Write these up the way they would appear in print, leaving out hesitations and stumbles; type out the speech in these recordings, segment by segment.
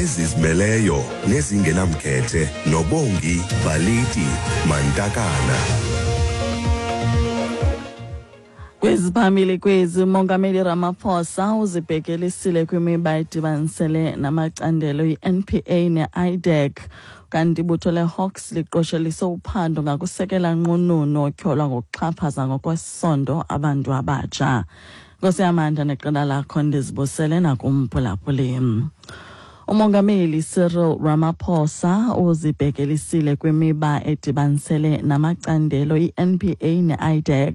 ezizimeleyo nezingenamkhethe noBongi Baliti Mantakana. Kweziphambili kwezi, uMongameli Ramaphosa uzibhekelisile kwimiba edibanisele namacandelo i-NPA ne-IDAC. Kanti ibutho leHawks liqoshelise uphando ngakusekela nqununu otyholwa ngokuxhaphaza ngokwesondo abantu abatsha. Nkosi yamandla neqela lakho, ndizibusele nakumphulaphuli. Umongameli Cyril Ramaphosa uzibhekelisile kwimiba edibanisele namacandelo i-NPA ne-IDAC,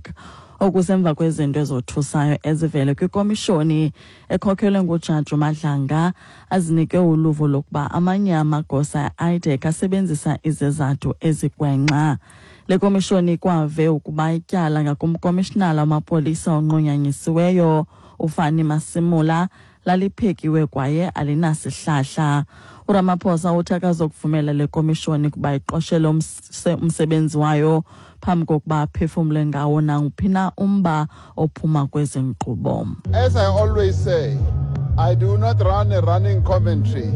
okusemva kwezinto ezothusayo ezivele kwikomishoni ekhokhelwe nguJaji Madlanga, azinike uluvo lokuba amanye amagosa e-IDAC asebenzisa izizathu ezigwenxa. Le komishoni ikwave ukuba ityala ngakumkomishinala wamapolisa onqunyanyisiweyo uFani Masimula laliphekiwe kwaye alinasihlahla. URamaphosa uthi akazokuvumela le komishoni ukuba iqoshele umsebenzi wayo phambi kokuba aphefumle ngawo nanguphi na umba ophuma kwezi nkqubo. As I always say, I do not run a running commentary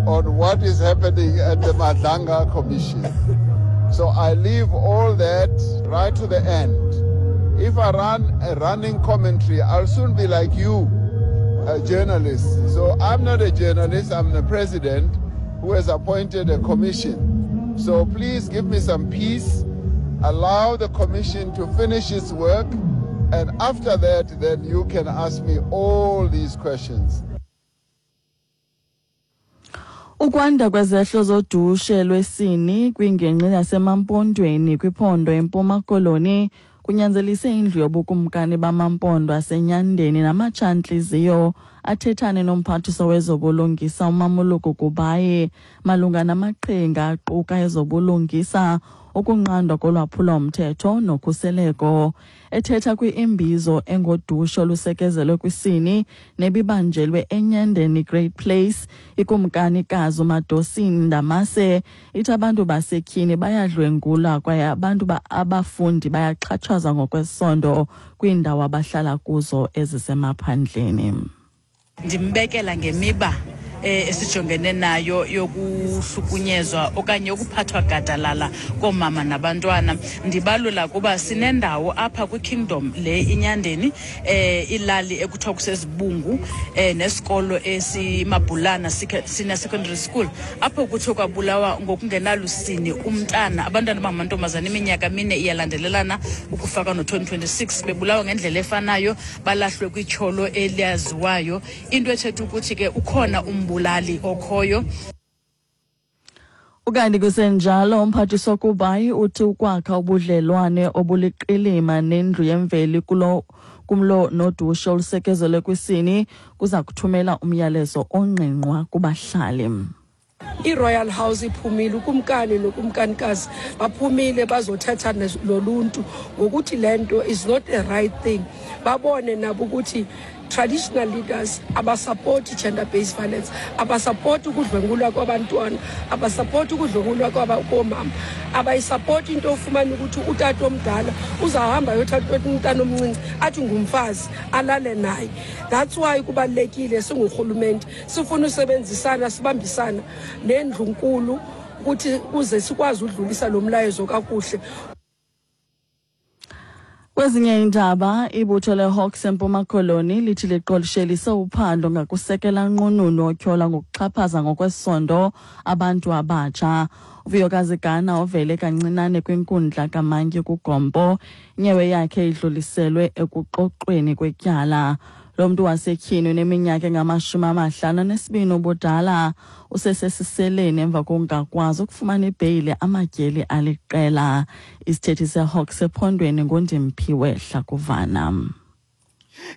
on what is happening at the Madlanga Commission. So I leave all that right to the end. If I run a running commentary, I'll soon be like you, a journalist. So I'm not a journalist, I'm the president who has appointed a commission. So please give me some peace, allow the commission to finish its work, and after that, then you can ask me all these questions. Ukwanda kwezehlo zodushe lwesini kwingingqi yaseMampondweni kwiphondo eMpuma Koloni kunyanzelise indlu yobukumkani bamaMpondo aseNyandeni namatshantliziyo athethane nomphathiswa wezobulungisa uMamoloko Kubayi malunga namaqhinga aquka ezobulungisa, ukunqandwa kolwaphulo-mthetho nokhuseleko. Ethetha kwi-imbizo engodushe olusekezelwe kwisini nebibanjelwe eNyandeni Great Place, ikumkanikazi uMadosini Ndamase ithi abantu basetyhini bayadlwengulwa kwaye abantu abafundi bayaxhatshazwa ngokwesondo kwiindawo abahlala kuzo ezisemaphandleni. Ndimbekela ngemiba esijongene nayo yokuhlukunyezwa okanye ukuphathwa gadalala koomama nabantwana. Ndibalula kuba sinendawo apha kwiKingdom le iNyandeni, ilali ekuthiwa kuseZibungu, nesikolo esiMabhulana Senior Secondary School, apho kuthiwa kwabulawa ngokungenalusini umntana, abantwana bangamantombazana iminyaka 4 iyalandelelana ukufaka no-2026, bebulawa ngendlela efanayo, balahlwe kwityholo eliyaziwayo. Into ethetha ukuthi ke ukhona umbulali okhoyo. Ukanti kusenjalo, umphathiswa Kubayi uthi ukwakha ubudlelwane obuliqilima nendlu yemveli kulo kumlo nodushe olusekezelwe kwisini kuza kuthumela umyalezo ongqingqwa kubahlali. I-Royal House iphumile, ukumkani nokumkanikazi baphumile bazothetha noluntu ngokuthi le nto is not the right thing. Babone nabo ukuthi traditional leaders abasapoti gender-based violence, abasapoti ukudlwengulwa kwabantwana, abasapoti ukudlwengulwa koomama, abayisapoti into ofumana ukuthi utata omdala uzawuhamba yothatha umntana omncinci athi ngumfazi alale naye. That's why kubalulekile singurhulumente sifuna usebenzisana, sibambisana nendlunkulu ukuthi kuze sikwazi udlulisa lo mlayezo kakuhle. Kwezinye iindaba, ibutho leHawks eMpuma Koloni lithi liqoshelise uphando ngakusekela nqununu otyholwa ngokuxhaphaza ngokwesondo abantu abatsha. UVuyokazi Gana ovele kancinane kwinkundla kamantyi kuGompo, inyewe yakhe idluliselwe ekuxoxweni kwetyala. Lo mntu wasetyhini uneminyaka engama-52 ubudala usesesiseleni emva kokungakwazi ukufumana ibheyile amatyeli aliqela. Isithethi seHawks ephondweni nguNdimphiwe Hlakuvana.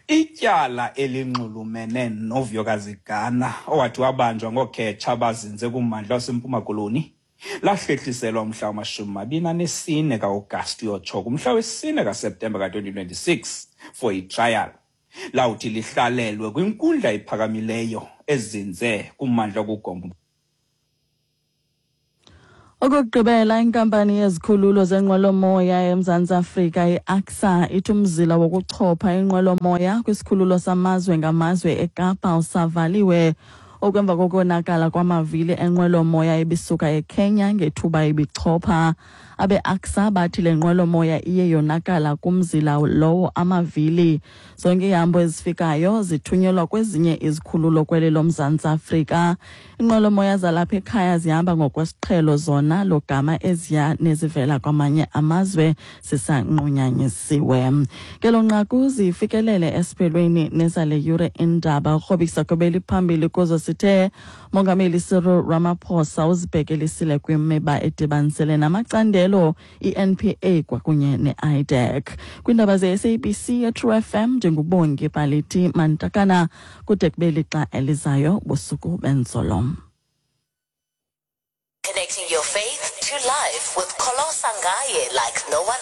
Ityala elinxulumene noVuyokazi Gana owathi wabanjwa ngokhetsha abazinze kummandla waseMpuma Koloni lahlehliselwa umhla wama-24 ka-Agasti uyotsho kumhla we-4 kaSeptemba ka-2026 for i-trial. Lawuthi lihlalelwe kwinkundla ephakamileyo ezinze kummandla wokuGompo. Okokugqibela, inkampani yezikhululo zenqwelomoya eMzantsi Afrika iACSA ithi umzila wokuchopha inqwelomoya kwisikhululo samazwe ngamazwe eKapa usavaliwe. Okwemva kokonakala kwamavili enqwelomoya ebisuka eKenya ngethuba ibichopha. Abe-ACSA bathi le nqwelomoya iye yonakala kumzila lowo amavili. Zonke iihambo ezifikayo zithunyelwa kwezinye izikhululo kweli loMzantsi Afrika. Inqwelomoya zalapha ekhaya zihamba ngokwesiqhelo zona logama eziya nezivela kwamanye amazwe zisanqunyanyisiwe. Ngelo nqaku zifikelele esiphelweni nezale yure indaba. Ukrobisa kwebeli phambili kuzo sithe Mongameli Cyril Ramaphosa uzibhekelisile kwimiba edibanisele namacandelo i-NPA kwakunye ne-IDAC. Kwiindaba ze-SABC yeTrue FM ndinguBongi Baliti Mantakana kude kube lixa elizayo busuku benzolo. Connecting your faith to life with Kolo Sangaye like no one